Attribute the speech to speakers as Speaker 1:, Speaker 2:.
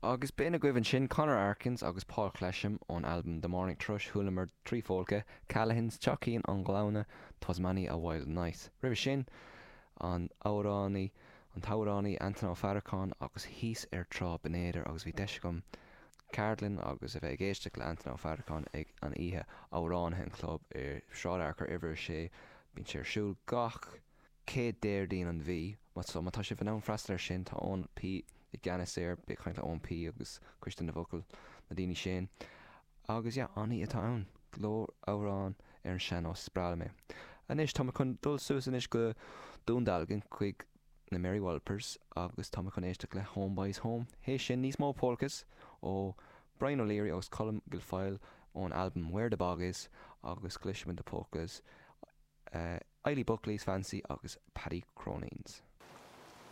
Speaker 1: Agus b'in agaibh ansin Conor Arkins agus Paul Clesham ón albam The Morning Thrush, Chualamar 3 phólca, Callaghans, Teachín an Ghleanna, 'Twas Many a Wild Night. Roimhe sin, an amhránaí, an t-amhránaí Antain Ó Faracháin agus Thíos ar Trá Binn Éadair agus bhí deis agam ceardlann agus a bheith ag éisteacht le Antain Ó Faracháin ag an oíche amhránaithe an chlub i Sráid Fhearchair uimhir 6. Bíonn sé ar siúl gach. chéad Déardaoin an mhí. So má tá sibh in ann freastal air sin, tá Eoin P i gceannas air, bí ag caint le Eoin P agus Coiste na bhFocal, na daoine sin. Agus yeah, an-oíche atá ann. Go leor amhrán ar an sean-nós, is breá liom é. Anois, tá mé chun dul suas anois go Dún Dealgan chuig na Mary Wallopers agus tá mé chun éisteacht le Home Boys Home. Théis sin, níos mó polkas ó Brian O'Leary agus Colm Guilfoyle ón albam Where the Bog Is agus cloisfimid na polkas. Eilí Buckley's Fancy agus Paddy Cronin's.